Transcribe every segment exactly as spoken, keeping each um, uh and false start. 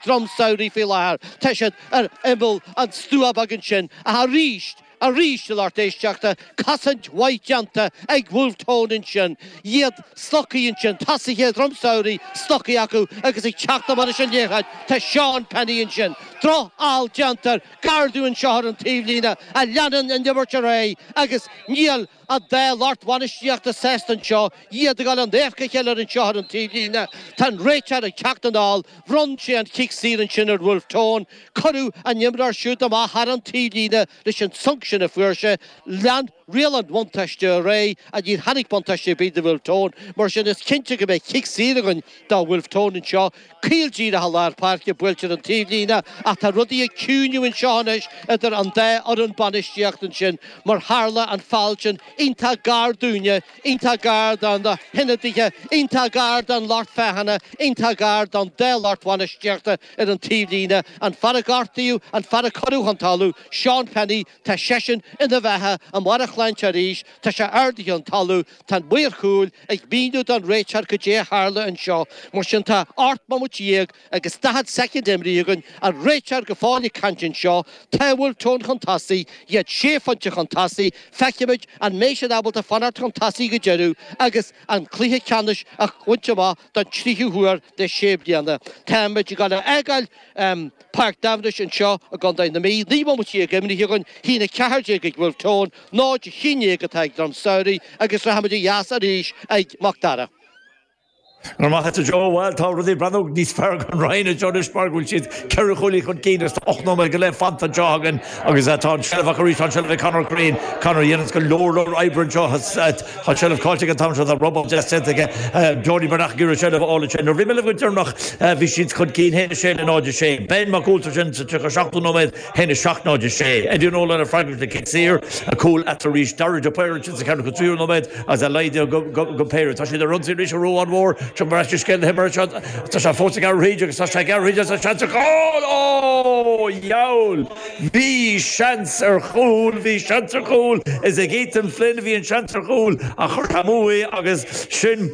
Drom Samhraidh faoi láthair. Tá siad ar imeall an stua beag ansin ach arís, arís a lucht éisteachta, cosaint mhaith déanta ag Wolfe Tone ansin. Iad slogtha ansin, tosaithe Dhroim Samhraidh slogtha acu agus ag teacht amach leis an liathróid tá Seán Penny ansin. Drochfheall déanta gar dúinn anseo ar an taobhlíne a leanann an imirt ar aghaidh agus níl an dá lucht bhainistíochta sásta anseo, iad ag dul in adharca a chéile anseo ar an taobhlíne. Tá an réiteoir ag teacht anall, bhronn sé an cic saor ansin ar Wolfe Tone. Cuireadh an t-imreoir siúd amach thar an taobhlíne leis an sonc sin a fuair sé. Lean riail an bhuntáiste ar aghaidh ach níor tháinig buntáiste ar bith do Wolfe Tone. Mar sin is cinnte go mbeidh cic saor againn do Wolfe Tone anseo. Caol díreach i lár páirce buailte ar an taobhlíne ach tá rudaí ag ciúnú anseo anois idir an dá fhoireann bainistíochta ansin mar tharla an feall sin iontach gar dúinne, iontach gar do na hionadaithe, iontach gar don lucht féachana, iontach gar don dá lucht bhainistíochta ar an taobhlíne. An fear a gortaíodh, an fear a cuireadh chun talamh, Seán Penny, tá seisean ina bheatha i mbarr a shláinte arís, tá sé ardaithe ón talamh, tá an maor cúil ag míniú don réiteoir cad é a tharla anseo. Mar sin tá ocht mbomaite déag agus daichead soicind imrithe againn, an réiteoir go fóill ag caint anseo, tá Wolfe Tone chun tosaigh, iad sé phointe chun tosaigh, feicfimid an mbeidh siad ábalta fanacht chun tosaigh go deireadh agus an cluiche ceannais a bhaint amach don tríú huair le sé bliana. Táimid ag dul a fhágáil Páirc Daimhnis anseo i gContae na Mí, naoi mbomaite déag imrithe againn, haon a ceathair déag ag Wolfe Tone, náid a haon déag atá ag Drom Samhraidh agus rachaimid ó dheas arís ag Mac Dara. Go raibh maith agat Joe, bhuel tá rudaí ag breathnú níos fearr don Rinn anseo anois mar go bhfuil siad ceithre chúilín chun cinn agus tá ocht nóiméad go leith fanta anseo againn agus tá an seilbh acu arís, tá an seilbh ag Conor Crean, Conor a dhéananns go leor leor oibre anseo, tá an seilbh caillte aige an t-am seo, tá robáil deas déanta aige Jody Breathnach ag iarraidh seilbh a fháil ansin. Nuair a bhí mé libh go deireanach bhí siad chun cinn haon a sé le náid a sé. Ben Mac Ualtair sin sa tríocha seachtú nóiméad haon a seacht náid a sé. Eddie Nolan ag freagairt le cic saor, cúl eatarthu arís, Dara de Paor ansin sa ceathracha tríú nóiméad agus é laghdaithe go go péire. Tá siad ar ionsaí arís an Ruán Mhór. Seo mar ais scéal na himeartha seo. Tá sé fós ag gearradh thríd agus tá sé ag gearradh thríd agus tá seans ar chúl! Ó! Dheabhail! Bhí seans ar chúl! Bhí seans ar chúl! Is ag Ethan Flynn a bhí an seans ar chúl ach chuir sé amú é agus sin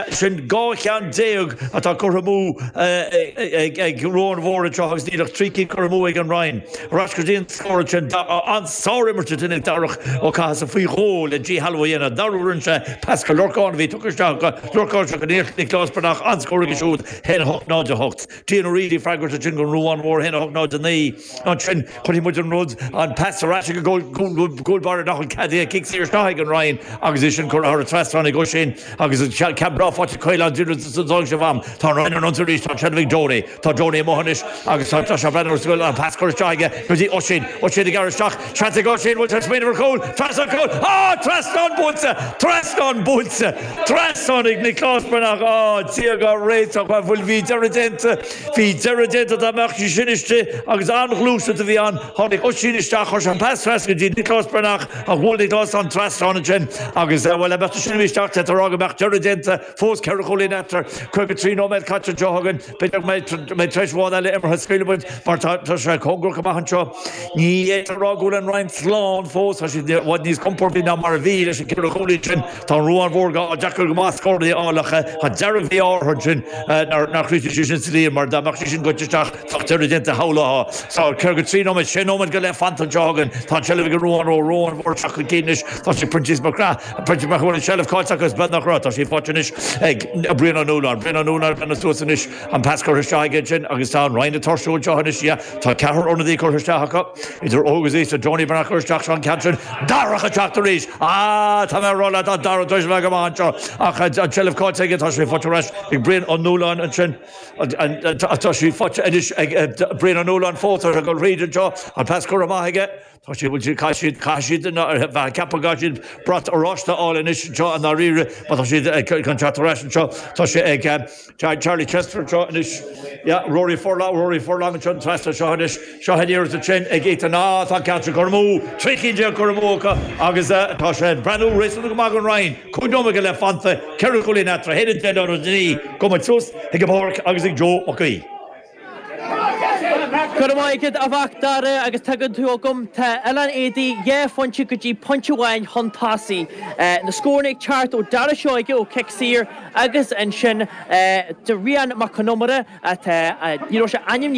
sin dhá cheann déag atá curtha amú ag Ruán Mhór anseo agus níl ach trí cinn curtha amú ag an Rinn. Ar ais go dtí an scór ansin. An-sár-imirt ansin ag Darach Ó Cathasaigh faoi dhó le díshealbhú a dhéanamh. Dara rinne sé pas go Lorcán a bhí tugtha isteach acu. Lorcán seo go Nioclás Breathnach an-scór aige siúd, haon a hocht náid a hocht. Cian O'Reilly ag freagairt ansin don Ruán Mhór, haon a hocht náid a naoi. Ansin chuirfidh muid an rud, an pas ar ais ag an gcúl báire nach bhfuil ceadaithe, cic saor isteach ag an Rinn agus é sin curtha thar an trasnán ag Oisín agus an ceann breá faighte ag Caolán Dillon sa dóigh seo am. Tá an Rinn ar an ionsaí arís, tá an seilbh ag Jody. Tá Jody amuigh anois agus tá sé ag breathnú ar scoil, an pas curtha isteach aige go dtí Oisín. Oisín ag gearradh isteach, seans ag Oisín, bhfuil sé ag smaoineamh ar chúl? Trasnán cúl! Á! Trasnán buailte! Trasnán buailte! Trasnán ag Nioclás Breathnach! Á, Dia dhár réiteach, bhuel bhí deireadh déanta, bhí deireadh déanta dá mbeadh sí sin istigh agus an-ghluaiseacht a bhí ann. Tháinig Oisín isteach, chuir sé an pas trasna go dtí Nioclás Breathnach ach bhuail Nioclás an trasnán ansin agus, bhuel, dá mbeadh sí sin isteach, d'fhéadfá a rá go mbeadh deireadh déanta. Fós ceithre chúilín eatarthu, caoga trí nóiméad caite anseo againn. B'fhéidir go mbeidh treis amháin eile imeartha, scaoilfidh muid mar tá sé cóngarach amach anseo. Ní fhéadfá a rá go bhfuil an Rinn slán fós, tá siad i bhfad níos compórdaí ná mar a bhí leis an gceithre chúilín sin. Tá an Ruán Mhór go deacair go maith scóranna a fháil ach tá dearg-mhí-ádh orthu ansin nár chríochnaigh sí sin sa líon mar dá mbeadh sí sin goite isteach bheadh deireadh déanta shamhlófá. So caoga trí nóiméad, sé nóiméad go leith fanta anseo againn. Tá an tseilbh ag an Ruán Mhór, Ruán Mhór isteach chun cinn anois. Tá sé Proinsias Mac Craith. Proinsias Mac bhfuil an tseilbh caillte acu is beag nach raibh. Tá sí faighte anois ag Brian Ó Nualláin. Brian Ó Nualláin ag breathnú suas anois. An pas curtha isteach aige ansin agus tá an Rinn ag tuirsiú anseo anois. Yeah, tá ceathrar ionadaí curtha isteach acu, idir óg agus aosta. Johnny Breathnach curtha isteach seo an ceann sin. Darach ag teacht arís! Ah, tá mé ag rá leat, tá Darach tar éis a bheith go maith anseo. Ach an tseilbh caillte aige, tá sé faighte ar ais ag Brian Ó Nualláin ansin. Tá sí faighte anois ag Brian Ó Nualláin fós ar a dhul thríd anseo. An pas curtha amach aige. Tá siad, bhfuil siad, caithfidh siad, caithfidh siad, bheith ag ceapadh go gcaithfidh siad brat oráiste a fháil anois anseo i ndáiríre má tá siad chun teacht ar ais anseo. Tá sé ag Charlie Chester anseo anois. Yeah, Rory Furlong, Rory Furlong anseo an trasna seo anois. Seo an iarracht ansin ag Ethan. Ah, tá an ceann seo curtha amú, trí cinn déag curtha amú acu agus tá sé ag breathnú réasúnta go maith don Rinn. Cúig nóiméad go leith fanta, ceithre chúilín eatarthu, a haon a deich náid a naoi. Gabhfaidh muid suas ag an bpáirc agus ag Joe Mac Aoidh. Go maith a Mhac Dara agus tugann tú agam tá Oileán Éadaí dhá phointe go dtí pointe amháin chun tosaigh. Na scóranna ag teacht ó Dara Seoige ó cic saor agus ansin de Rian Mac Con Iomaire atá ní raibh sé ainm